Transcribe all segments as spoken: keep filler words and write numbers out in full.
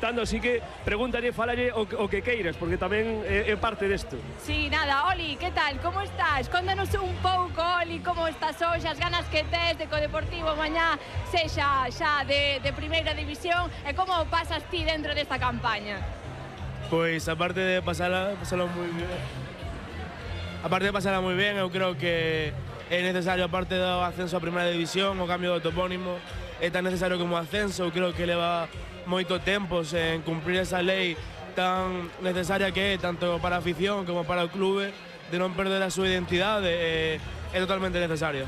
comentando, así que pregúntalle, falalle o, o que queiras, porque tamén é, é parte desto. Sí, nada, Oli, que tal, como estás? Contanos un pouco, Oli, como estás hoxe, as ganas que tes de que o Deportivo mañá sexa xa de, de primeira división e como pasas ti dentro desta campaña? Pois, aparte de pasala, pasala moi bien, aparte de pasala moi ben, eu creo que é necesario, aparte do ascenso a primeira división, o cambio do topónimo, é tan necesario como o ascenso. Eu creo que leva moito tempo en cumprir esa lei tan necesaria que é, tanto para a afición como para o clube, de non perder a súa identidade, é, é totalmente necesario.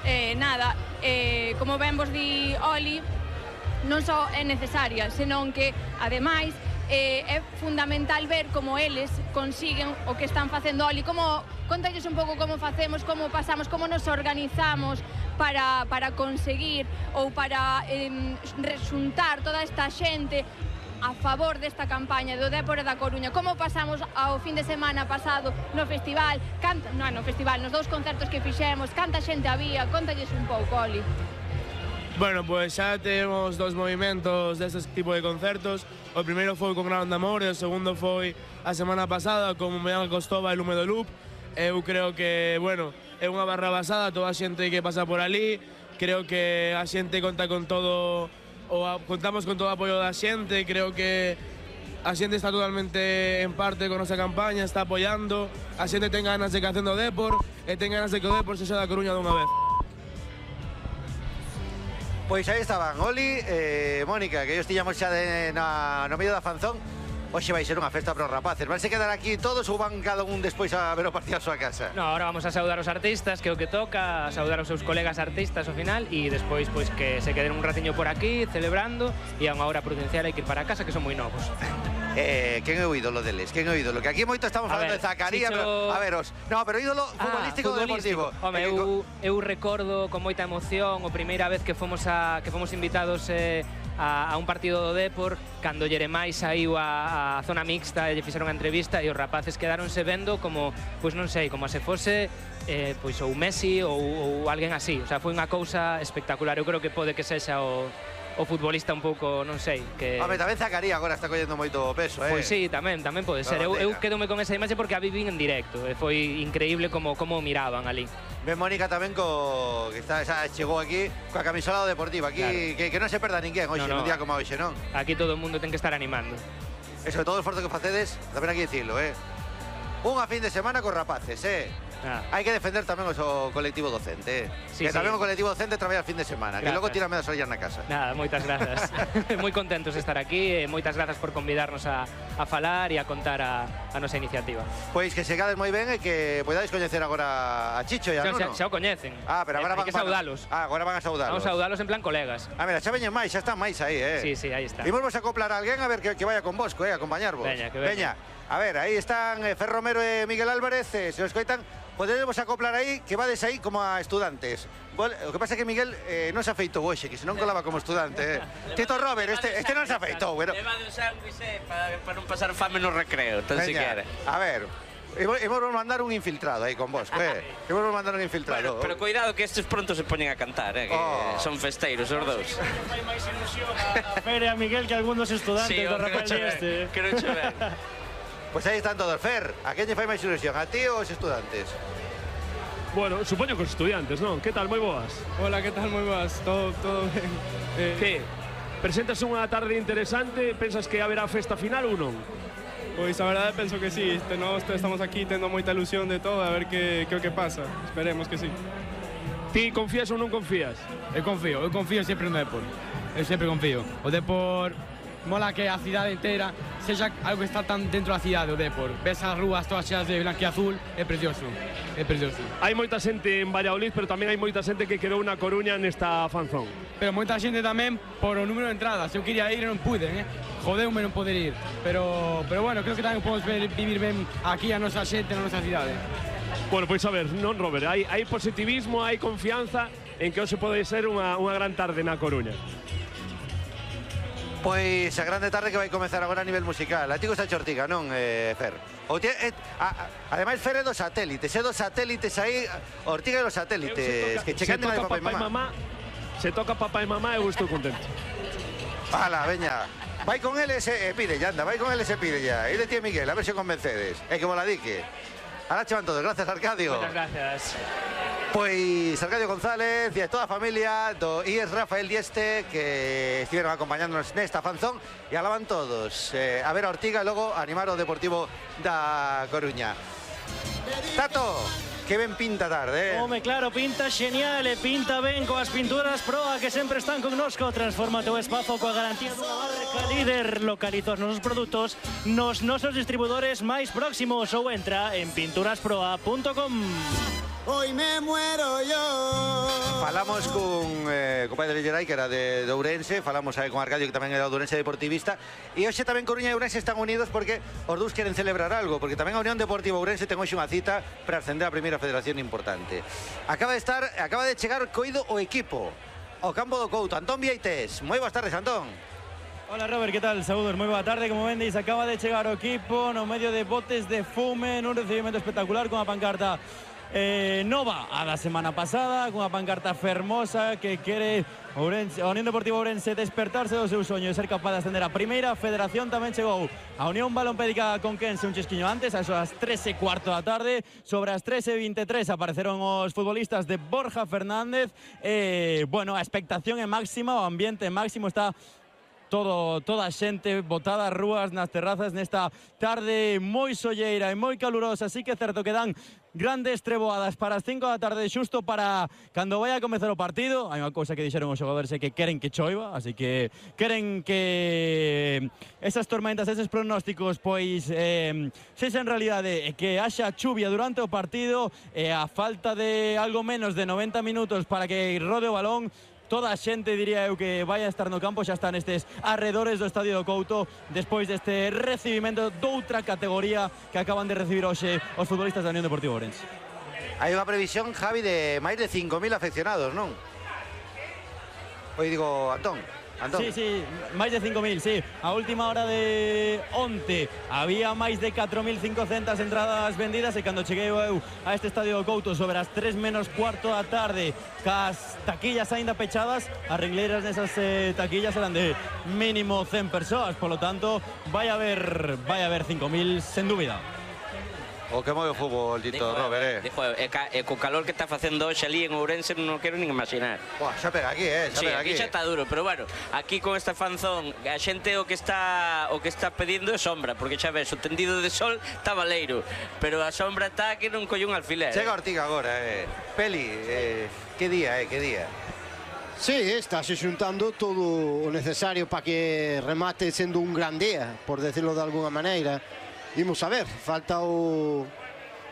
Eh, nada, eh, como ben vos di Oli, non só é necesaria, senón que, ademais, eh, é fundamental ver como eles consiguen o que están facendo. Oli, como, contalles un pouco como facemos, como pasamos, como nos organizamos para, para conseguir ou para eh, resuntar toda esta xente a favor desta campaña do Dépor e da Coruña. Como pasamos ao fin de semana pasado no festival, canta, non, no festival, nos dous concertos que fixemos, canta xente había, contalles un pouco, Oli. Bueno, pues xa temos dos movimentos deste tipo de concertos. O primeiro foi con Gran Amor e o segundo foi a semana pasada con Meán Costova e Lume do Loop. Eu creo que, bueno, é unha barra basada, toda a xente que pasa por ali. Creo que a xente conta con todo, ou a, contamos con todo o apoio da xente. Creo que a xente está totalmente en parte con nosa campaña, está apoiando. A xente ten ganas de que hacendo Dépor e ten ganas de que o Dépor sexa da Coruña dunha vez. Pois aí estaban Oli e eh, Mónica, que ellos tiñamos xa de, na, no medio da fanzón. Hoxe vai ser unha festa para os rapaces. Van se quedar aquí todos ou van cada un despois a ver o partido a súa casa? No, ahora vamos a saudar os artistas, que é o que toca, a saudar os seus colegas artistas ao final e despois pois que se queden un ratiño por aquí celebrando e a unha hora prudencial hai que ir para casa, que son moi novos. Eh, quen é o ídolo deles? Quen é o ídolo? Que aquí moito estamos falando ver, de Zacarías, Chicho... pero, a veros. No, pero ídolo futbolístico, ah, do Deportivo. Home, eu, eu recordo con moita emoción a primeira vez que fomos a que fomos invitados eh, a, a un partido do Dépor, cando Yeremai saiu a, a zona mixta e lle fixeron a entrevista e os rapaces quedáronse vendo como, pois non sei, como se fose eh, pois ou Messi ou, ou alguén así. O sea, foi unha cousa espectacular. Eu creo que pode que sexa o o futbolista un pouco, non sei, que... Home, tamén Zacarías agora está collendo moito peso, eh? Pois sí, tamén, tamén pode ser. Eu, eu quedome con esa imaxe porque a vivín en directo e foi increíble como como miraban ali. Ven Mónica tamén co que está, xa chegou aquí coa camisola do Deportivo. Aquí claro. que, que non se perda ninguén hoxe, no, no. nun día como hoxe, non? Aquí todo o mundo ten que estar animando. E sobre todo o esforzo que facedes, tamén aquí dicilo, eh? Unha fin de semana con rapaces, eh? Ah. Hai que defender tamén o so colectivo docente, eh? sí, que sí. Tamén o colectivo docente traballa fin de semana, grazas. Que logo tira medas ollas na casa. Nada, moitas grazas. Moi contentos de estar aquí e moitas grazas por convidarnos a, a falar e a contar a, a nosa iniciativa. Pois que segades moi ben e que podades coñecer agora a Chicho e a Nuno. Xa, xa o coñecen. Ah, pero agora eh, van, que saudalos. Ah, agora van a saudalos. Vamos a saudalos en plan colegas. Ah, mira, xa veñen máis, xa están máis aí, eh? Sí, sí, aí está. Imos vos acoplar a alguén a ver que, que vaya con vos, eh, acompañarvos. Veña, que veña. Veña. A ver, aí están eh, Fer Romero e Miguel Álvarez, eh, se os coitan, podemos acoplar aí, que vades aí como a estudantes. O que pasa é que Miguel eh, non se afeitou hoxe, que se non colaba como estudante. Eh. Tito Robert, este, este non se afeitou. Bueno. Leva de un sándwich para, para non pasar fame no recreo, tan siquiera. A ver, imos mandar un infiltrado aí con vos, eh. Imos mandar un infiltrado. Bueno, pero cuidado que estes pronto se poñen a cantar, eh, que oh. son festeiros os dous. Fai máis ilusión a Fer e a Miguel que algún dos estudantes sí, do Rafael este. Que non che ven. Pois aí están todos. Fer, a quen lle fai máis ilusión, a ti ou os estudantes? Bueno, supoño que os estudiantes, non? Que tal, moi boas? Hola, que tal, moi boas? Todo, todo ben. Eh, que? Presentas unha tarde interesante, pensas que haberá festa final ou non? Pois a verdade penso que sí, nós estamos aquí tendo moita ilusión de todo, a ver que, que o que pasa, esperemos que sí. Ti confías ou non confías? Eu confío, eu confío sempre no Dépor, eu sempre confío. O Dépor mola que a cidade inteira sexa algo que está tan dentro da cidade, o Dépor. Ves as rúas todas xeas de blanco e azul, é precioso, é precioso. Hai moita xente en Valladolid, pero tamén hai moita xente que quedou na Coruña nesta fanzón. Pero moita xente tamén por o número de entradas. Eu quería ir e non pude, eh? Jodeume non poder ir. Pero, pero bueno, creo que tamén podemos ver, vivir ben aquí a nosa xente na nosa cidade. Bueno, pois a ver, non, Robert, hai, hai positivismo, hai confianza en que hoxe pode ser unha, unha gran tarde na Coruña. Pois a grande tarde que vai comezar agora a nivel musical. A ti gusta Chortiga, non, eh, Fer? O tie, eh, a, a, ademais, Fer é dos satélites, é dos satélites aí, Ortiga é dos satélites, toca, que checan de papá, papá e mamá. Se toca papá e mamá, eu estou contento. Ala, veña. Vai con eles e pide, ya anda, vai con eles e pide ya. E de ti, Miguel, a ver se convencedes. É que mola dique. Ahora che van todos, gracias, Arcadio. Muchas gracias. Pois Arcadio González e a toda a familia do I E S Rafael Dieste que estiveron acompañándonos nesta fanzón e alaban todos eh, a ver a Ortiga e logo animar o Deportivo da Coruña. Tato, que ben pinta tarde, eh? Home, claro, pinta genial e pinta ben coas pinturas Proa que sempre están connosco. Transforma o teu espazo coa garantía dunha marca líder. Localiza os nosos produtos nos nosos distribuidores máis próximos ou entra en pinturasproa punto com. Hoy me muero yo. Falamos con eh, compadre Geray, que era de, de Ourense. Falamos aí con Arcadio, que tamén era de Ourense deportivista. E hoxe tamén Coruña e Ourense están unidos porque os dous queren celebrar algo, porque tamén a Unión Deportiva Ourense ten hoxe unha cita para ascender a primeira federación importante. Acaba de estar, acaba de chegar coido o equipo ao campo do Couto. Antón Vieites. Moi boas tardes, Antón. Hola Robert, que tal? Saúdos, moi boa tarde. Como vendes, acaba de chegar o equipo no medio de botes de fume nun recibimento espectacular con a pancarta Eh, nova a da semana pasada, cunha pancarta fermosa que quere Ourense, a Unión Deportiva Ourense despertarse do seu soño e ser capaz de ascender a primeira federación. Tamén chegou a Unión Balompédica Conquense un chesquiño antes, a eso as tres e cuarto da tarde. Sobre as tres e veintitrés apareceron os futbolistas de Borja Fernández e, bueno, a expectación é máxima, o ambiente máximo, está todo, toda a xente botada ás rúas, nas terrazas, nesta tarde moi solleira e moi calurosa. Así que é certo que dan grandes treboadas para as cinco da tarde, xusto para cando vai a comezar o partido. Hai unha cousa que dixeron os xogadores, é que queren que choiva, así que queren que esas tormentas, eses pronósticos, pois eh, sexan realidade, e que haxa chuvia durante o partido, e a falta de algo menos de noventa minutos para que rode o balón. Toda a xente, diría eu, que vai a estar no campo, xa están estes arredores do Estadio do Couto despois deste recibimento doutra categoría que acaban de recibir hoxe os futbolistas da Unión Deportiva Ourense. Hai unha previsión, Javi, de máis de cinco mil afeccionados, non? Oi, digo, Antón. Antón. Sí, sí, máis de cinco mil, sí. A última hora de onte había máis de catro mil cincocentas entradas vendidas, e cando cheguei eu a este Estadio do Couto sobre as tres menos cuarto da tarde, cas taquillas aínda pechadas, as ringleiras nesas eh, taquillas eran de mínimo cen persoas, polo tanto vai haber vai haber cinco mil sen dúbida. O que move o fútbol, Tito, Dijo, Robert, eh? Dijo, e, ca, e co calor que está facendo hoxe ali en Ourense non quero nin imaginar. Buah, xa pega aquí, eh? Xa Sí, pega aquí aquí. xa está duro, pero bueno, aquí con esta fanzón a xente o que está o que está pedindo é sombra, porque xa ves, o tendido de sol está valeiro, pero a sombra está que non colle un alfiler. Chega Ortiga agora, eh? Peli, eh, que día, eh? Que día? Sí, está se xuntando todo o necesario para que remate sendo un gran día, por decirlo de alguna maneira. Imos a ver, falta o,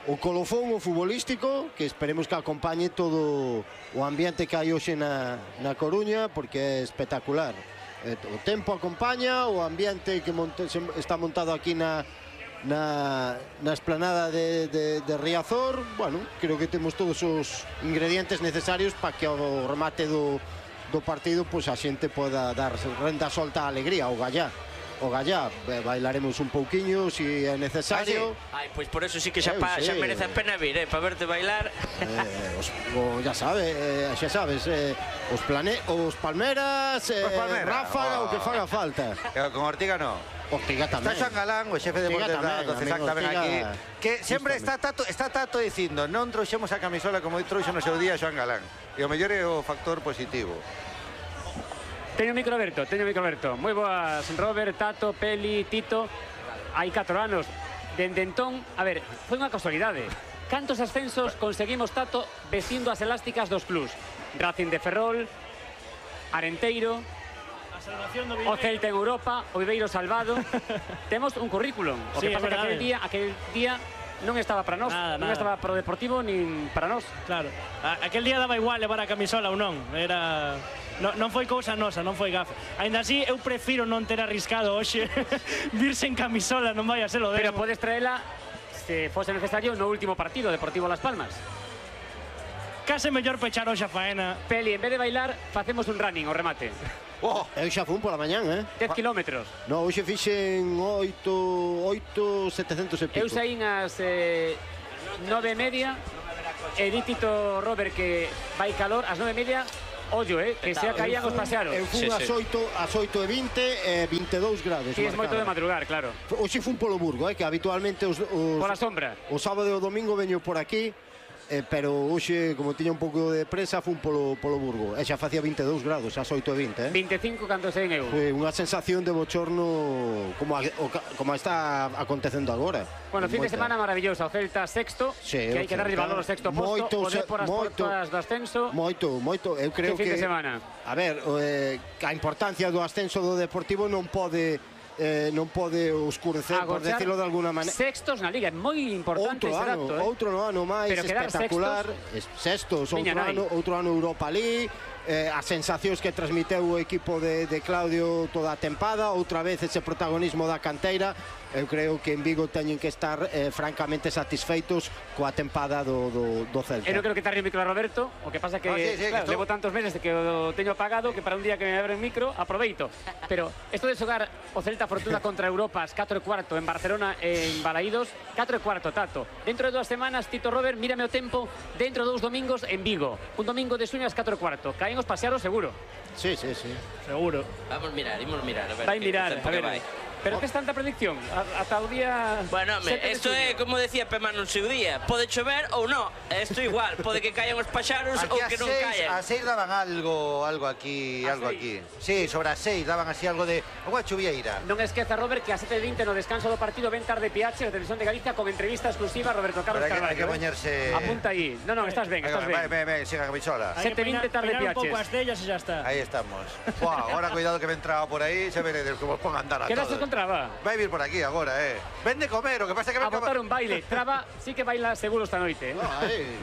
o colofón, o futbolístico, que esperemos que acompañe todo o ambiente que hai hoxe na, na Coruña, porque é espectacular. O tempo acompaña, o ambiente que monte, está montado aquí na, na, na esplanada de, de, de Riazor. Bueno, creo que temos todos os ingredientes necesarios para que ao remate do, do partido pois a xente poda dar renda solta a alegría, o gallá. O gallá, bailaremos un pouquiño se é necesario. Ai, pois por eso sí que xa, Eu pa, sei. xa merece a pena vir, eh, para verte bailar. Eh, os, o, ya sabe, eh, xa sabes, eh, os, plane, os Palmeras, eh, Os Palmeras, Ráfaga, oh. o que faga falta. Eh, con Ortiga no. Ortiga tamén. Está Xoan Galán, o xefe de Ortiga deportes da tamén, do CESAC amigo, tamén Ortiga, aquí, que sempre está tato, está tato dicindo non trouxemos a camisola como trouxo no seu día Xoan Galán, e o mellor é o factor positivo. Teño o micro aberto, teño o micro aberto. Moi boas, Robert, Tato, Peli, Tito. Hai catro anos. Dende entón, a ver, foi unha casualidade. Cantos ascensos conseguimos, Tato, vestindo as elásticas dos clubs? Racing de Ferrol, Arenteiro, o Celta en Europa, o Viveiro salvado. Temos un currículum. O Sí, que pasa é que aquel verdade. día, aquel día non estaba para nós, Nada, non nada. estaba para o Deportivo nin para nós. Claro. A, aquel día daba igual levar a camisola ou non. Era... No, non foi cousa nosa, non foi gafe. Ainda así, eu prefiro non ter arriscado hoxe vir sen camisola, non vai a ser o demo. Pero podes traela, se fose necesario, no último partido, Deportivo Las Palmas. Case mellor pechar hoxe a faena. Peli, en vez de bailar, facemos un running, o remate. Oh. Eu xa fun pola mañán, eh? dez kilómetros. No, hoxe fixen oito, oito, setecentos e pico. Eu saín as eh, nove e media, e di Tito Robert que vai calor, ás nove e media ollo, eh, que xa caían os pasearos. Eu fun ás oito e vinte e vinte e dous grados. Si, es moito de madrugar, claro. Hoxe fun polo Burgo, eh, que habitualmente os... Pola sombra. O sábado e o domingo veño por aquí, Eh, pero hoxe, como tiña un pouco de presa, fun polo, polo Burgo. E xa facía vinte e dous grados, ás oito e vinte, eh? vinte e cinco cando sei eu. Foi unha sensación de bochorno como, a, o, como está acontecendo agora. Bueno, fin de semana maravilloso. O Celta sexto, sí, que hai que darlle valor ao sexto posto. O Dépor as portas do ascenso. Moito, moito. Eu creo que... fin que... de semana? A ver, eh, a importancia do ascenso do Deportivo non pode... Eh, non pode oscurecer, por decirlo de alguna maneira. Sextos na Liga, é moi importante outro ese ano, dato, eh? outro ano máis espectacular, sextos, outro ano, outro ano Europa League, eh, as sensacións que transmiteu o equipo de, de Claudio toda a tempada, outra vez ese protagonismo da canteira. Eu creo que en Vigo teñen que estar eh, francamente satisfeitos coa tempada do, do, do Celta. Eu non creo que tarde o micro a Roberto, o que pasa que, ah, sí, sí, claro, que levo tantos meses que o teño apagado que para un día que me abre o micro aproveito. Pero isto de xogar o Celta Fortuna contra Europa ás catro e cuarto en Barcelona e en Balaídos, catro e cuarto, Tato. Dentro de dúas semanas, Tito Robert, mírame o tempo, dentro de dous domingos en Vigo. Un domingo de suño ás catro e cuarto. Caen os pasearos seguro. Sí, sí, sí. Seguro. Vamos mirar, imos mirar. A ver, vai mirar, a ver. Vai. Pero que es tanta predicción? Ata o día... Bueno, hombre, isto é, como decía Pema no seu día, pode chover ou non, isto igual, pode que caian os paxaros ou que non caian. A seis daban algo, algo aquí, algo aquí. Sí, sobre as seis daban así algo de agua chuvieira. Non esqueza, Robert, que a sete e vinte no descanso do partido ven tarde Piache, a Televisión de Galicia, con entrevista exclusiva a Roberto Carlos Carvalho. Hai que poñerse... Apunta aí. Non, non, estás ben, estás ben. Ven, ven, ven, siga a camisola. sete e vinte tarde Piaches. un pouco as dellas e xa está. Aí estamos. Buah, ahora cuidado que me entraba por aí, xa veredes como pongan a andar a todos. Quedas con traba? Vai vir por aquí agora, eh. Ven de comer, o que pasa que... A botar un baile. Traba sí que baila seguro esta noite, eh. Ay.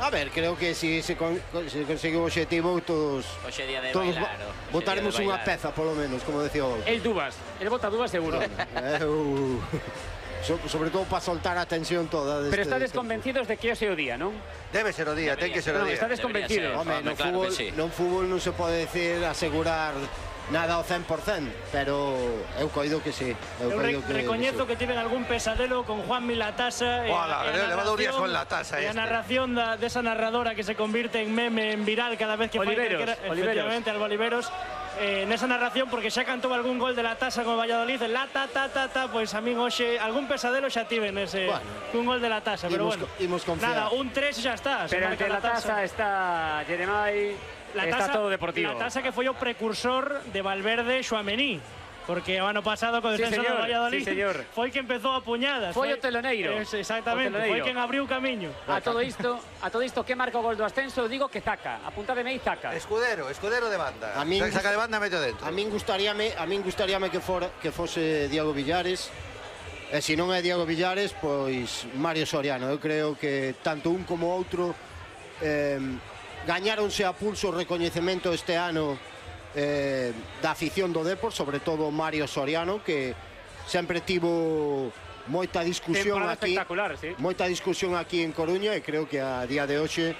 A ver, creo que si se, con, se consegue o objetivo, todos... Oxe día de todos bailar. Botaremos unha peza, polo menos, como decía o... El dúas. El bota dúas seguro. Eu... So, sobre todo para soltar a tensión toda. Pero estades convencidos de que hoxe é o día, non? Debe ser o día, ten que ser o día. Non, estades convencidos. Home, no fútbol, non fútbol non se pode decir asegurar nada ao cen por cen, pero eu coido que sí. Eu, eu re que, recoñezo que, que tiven algún pesadelo con Juan Milatasa e, Ola, e, a narración, con la tasa e este. a narración da, desa narradora que se convirte en meme, en viral cada vez que Oliveros, fai que era, efectivamente, Alba Oliveros. Eh, nesa narración, porque xa cantou algún gol de la tasa con Valladolid, la ta ta ta ta, pois a min hoxe algún pesadelo xa tive nese bueno, un gol de la tasa, pero imos, bueno. Imos nada, un tres xa está. Pero ante la tasa está Jeremai, está todo Deportivo. La tasa que foi o precursor de Valverde e Tchouaméni. Porque o ano pasado co descenso sí, do Valladolid sí, foi que empezou a puñadas. Foi o teloneiro. Es, exactamente, foi quen abriu o camiño. A todo isto, a todo isto que marca o gol do ascenso, digo que Zaca, apuntademe aí Zaca. Escudero, escudero de banda. A min saca de banda meto dentro. A min gustaríame, a min gustaríame que fora que fose Diego Villares. E se non é Diego Villares, pois Mario Soriano. Eu creo que tanto un como outro eh, gañáronse a pulso o recoñecemento este ano Eh, da afición do Dépor, sobre todo Mario Soriano, que sempre tivo moita discusión aquí, sí. moita discusión aquí en Coruña, e creo que a día de hoxe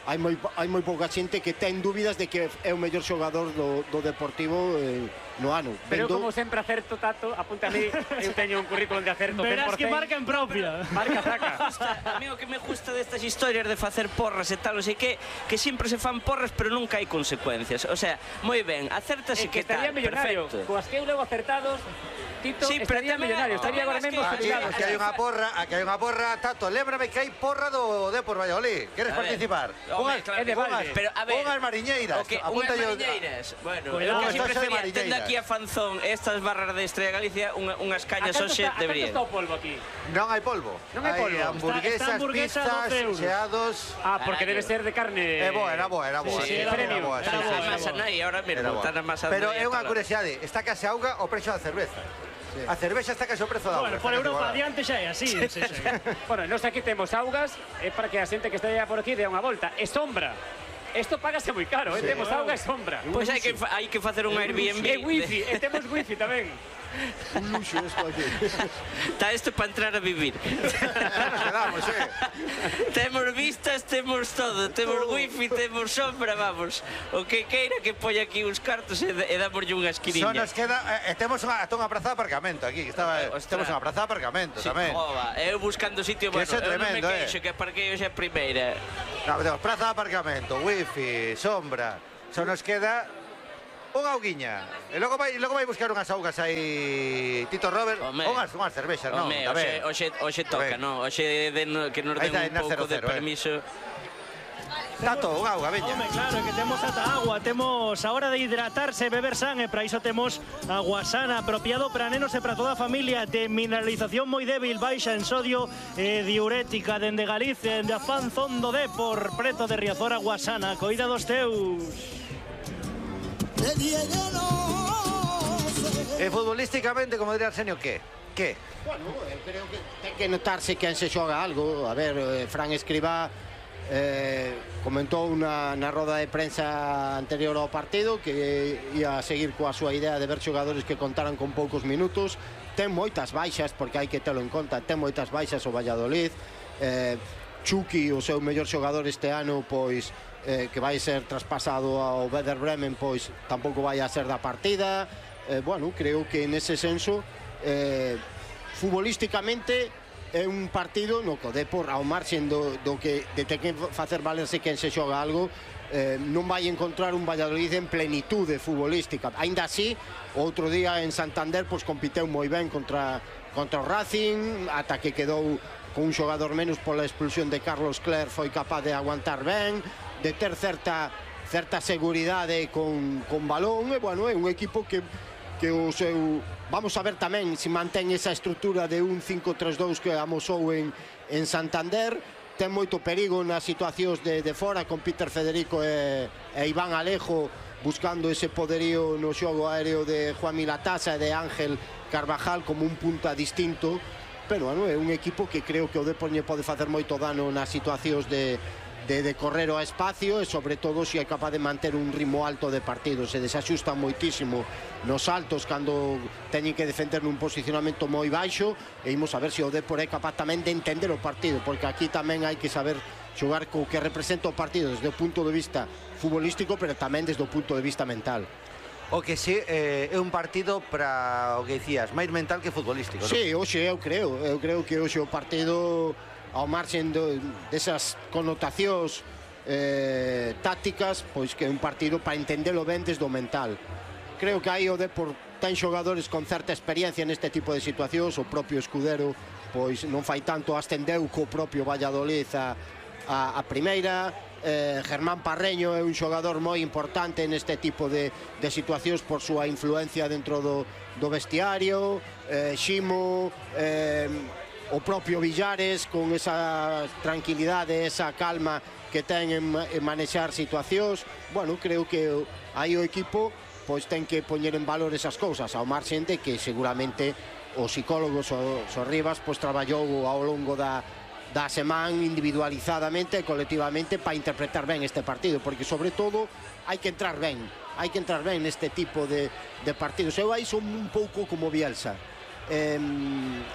hai moi, hai moi pouca xente que ten dúbidas de que é o mellor xogador do, do Deportivo eh, no ano. Pero Vendo... como sempre acerto, Tato, apunta a mí, eu teño un currículum de acerto Verás que marca en propia. Marca Zaca. A mí o que me gusta destas historias de facer porras e tal, o sei que, que sempre se fan porras, pero nunca hai consecuencias. O sea, moi ben, acértase que, que estaría tal, millonario. Perfecto. Coas que eu levo acertados, Tito, sí, estaría millonario, estaría agora mesmo jubilado. Aquí hai unha porra, aquí hai unha porra, Tato, lémbrame que hai porra do Dépor Valladolid. Queres a participar? Hombre, claro, é de balde. Pero a ver, unhas mariñeiras. Okay, apunta unhas yo. mariñeiras. Bueno, Cuidado, eu que sempre estás prefería, tendo aquí a Fanzón estas barras de Estrella Galicia, unha, unhas cañas hoxe deberían. A canto está o polvo aquí? Non hai polvo. Non hai polvo. Hamburguesas, está, está hamburguesa pizzas, xeados. Ah, porque debe ser de carne. É boa, era boa, era boa. Sí, sí, era era boa. Está na masa nai, ahora mesmo, está na masa. Pero é unha curiosidade, está case a auga o preço da cerveza. Sí. A cervexa está case o prezo da auga. Bueno, por Europa adiante xa é así. Sí, sí, sí. Bueno, nós aquí temos augas, é para que a xente que esteja por aquí dé unha volta. E sombra. Isto págase moi caro, sí. eh? Temos auga e sombra. Pois pues hai que hai que facer un Airbnb. E wifi, e temos wifi tamén. Un luxo isto aquí. Está isto para entrar a vivir. Nos quedamos, eh. Temos vistas, temos todo, temos wifi, temos sombra, vamos. O que queira que poña aquí uns cartos e, e damoslle unha esquiniña. Só nos queda, eh, temos unha, unha praza de aparcamento aquí, que estaba, eh, temos unha praza de aparcamento sí, tamén. Ova, eu buscando sitio, que bueno, eu tremendo, non me queixo, eh. que parquei hoxe a primeira. No, temos praza de aparcamento, wifi, sombra. Só nos queda unha auguiña. E logo vai, logo vai buscar unhas augas aí Tito Robert. Unhas, unhas cervexas, non? Home, hoxe, hoxe toca, non? Hoxe que nos den un pouco de permiso. Tato, unha auga, veña. Home, claro, que temos ata agua, temos a hora de hidratarse, beber san, e para iso temos agua sana, apropiado para nenos e para toda a familia, de mineralización moi débil, baixa en sodio e diurética, dende Galicia, dende a Fanzón do Dépor, preto de Riazor, agua sana, coida dos teus. E futbolísticamente, como diría Arsenio, que? Que? Bueno, eu creo que ten que notarse quen se xoga algo. A ver, eh, Fran Escribá Eh, comentou na, na roda de prensa anterior ao partido que ia a seguir coa súa idea de ver xogadores que contaran con poucos minutos. Ten moitas baixas, porque hai que telo en conta, ten moitas baixas o Valladolid. eh, Chucky, o seu mellor xogador este ano, pois eh, que vai ser traspasado ao Werder Bremen, pois tampouco vai a ser da partida. eh, Bueno, creo que nese senso eh, futbolísticamente é un partido no que o Dépor, ao marxen do, do que de ter que facer valerse quen se xoga algo, eh, non vai encontrar un Valladolid en plenitude futbolística. Ainda así, outro día en Santander pois compiteu moi ben contra, contra o Racing, ata que quedou con un xogador menos pola expulsión de Carlos Cler, foi capaz de aguantar ben, de ter certa, certa seguridade con, con balón, e bueno, é un equipo que que o seu... Vamos a ver tamén se mantén esa estrutura de un cinco tres dous que amosou en, en Santander. Ten moito perigo nas situacións de, de fora, con Peter Federico e, e Iván Alejo buscando ese poderío no xogo aéreo de Juan Milatasa e de Ángel Carvajal como un punta distinto. Pero bueno, é un equipo que creo que o Dépor lle pode facer moito dano nas situacións de de, de correr ao espacio, e sobre todo se é capaz de manter un ritmo alto de partido. Se desaxustan moitísimo nos altos cando teñen que defender nun posicionamento moi baixo, e imos a ver se o Dépor é capaz tamén de entender o partido, porque aquí tamén hai que saber xogar co que representa o partido desde o punto de vista futbolístico, pero tamén desde o punto de vista mental. O que sí, eh, é un partido para o que dicías, máis mental que futbolístico, non? Sí, hoxe eu creo, eu creo que hoxe o partido, ao marxen desas connotacións eh, tácticas, pois que é un partido para entendelo ben desde o mental. Creo que aí o Dépor ten xogadores con certa experiencia neste tipo de situacións. O propio Escudero pois non fai tanto, ascendeu co propio Valladolid a, a, a primeira. eh, Germán Parreño é un xogador moi importante neste tipo de, de situacións por súa influencia dentro do, do vestiario. eh, Ximo, eh, o propio Villares, con esa tranquilidade, esa calma que ten en, en manexar situacións. Bueno, creo que aí o equipo pois ten que poñer en valor esas cousas, ao marxen de que seguramente os psicólogos, os, os Rivas, pois traballou ao longo da, da semana individualizadamente e colectivamente para interpretar ben este partido, porque sobre todo hai que entrar ben, hai que entrar ben neste tipo de, de partidos. Eu aí son un pouco como Bielsa. Eh,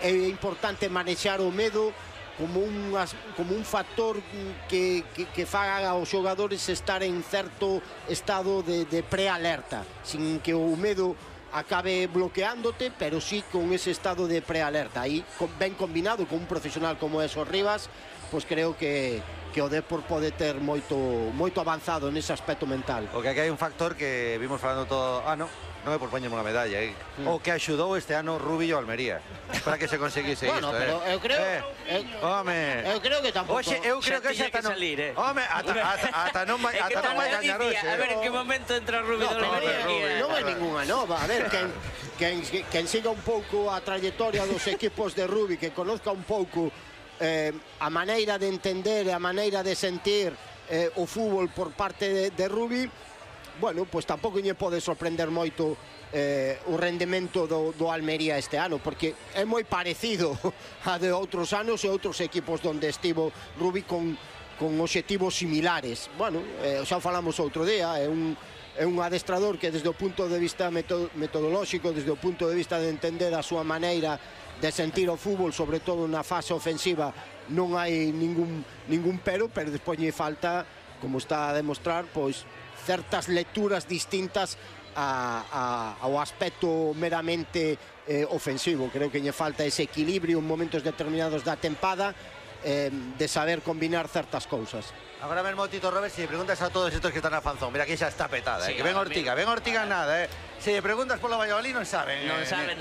é importante manexar o medo como un, como un factor que, que, que faga aos xogadores estar en certo estado de, de prealerta, sin que o medo acabe bloqueándote, pero sí con ese estado de prealerta. Aí, ben combinado con un profesional como é Os Rivas, pois creo que, que o Dépor pode ter moito, moito avanzado nese aspecto mental. O que aquí hai un factor que vimos falando todo ano, non é por poñerme unha medalla, eh? mm. o que axudou este ano Rubillo Almería para que se conseguise bueno, isto, pero eh? eu creo, eh, eu, home, eu creo que tampouco. Oxe, eu creo que xa ata non, salir, eh? home, ata, ata, ata non vai, ata non vai gañar hoxe. A ver en que momento entra Rubillo no, Almería. Non é ninguna nova, a ver, quen, quen, quen siga un pouco a trayectoria dos equipos de Rubi, que conozca un pouco eh, a maneira de entender e a maneira de sentir eh, o fútbol por parte de, de Rubi, bueno, pois tampouco lle pode sorprender moito eh, o rendemento do, do Almería este ano, porque é moi parecido a de outros anos e outros equipos onde estivo Rubi con, con obxectivos similares. Bueno, eh, xa falamos outro día, é un, é un adestrador que desde o punto de vista metodolóxico, desde o punto de vista de entender a súa maneira de sentir o fútbol, sobre todo na fase ofensiva, non hai ningún, ningún pero, pero despois lle falta, como está a demostrar, pois certas lecturas distintas a, a, ao aspecto meramente eh, ofensivo. Creo que lle falta ese equilibrio en momentos determinados da tempada eh, de saber combinar certas cousas. Agora mesmo, Tito Robert, se lle preguntas a todos estos que están na Fanzón, mira que xa está petada, eh, que ven Ortiga, ven Ortiga nada, eh. Se lle preguntas polo Valladolid non saben. Non eh, saben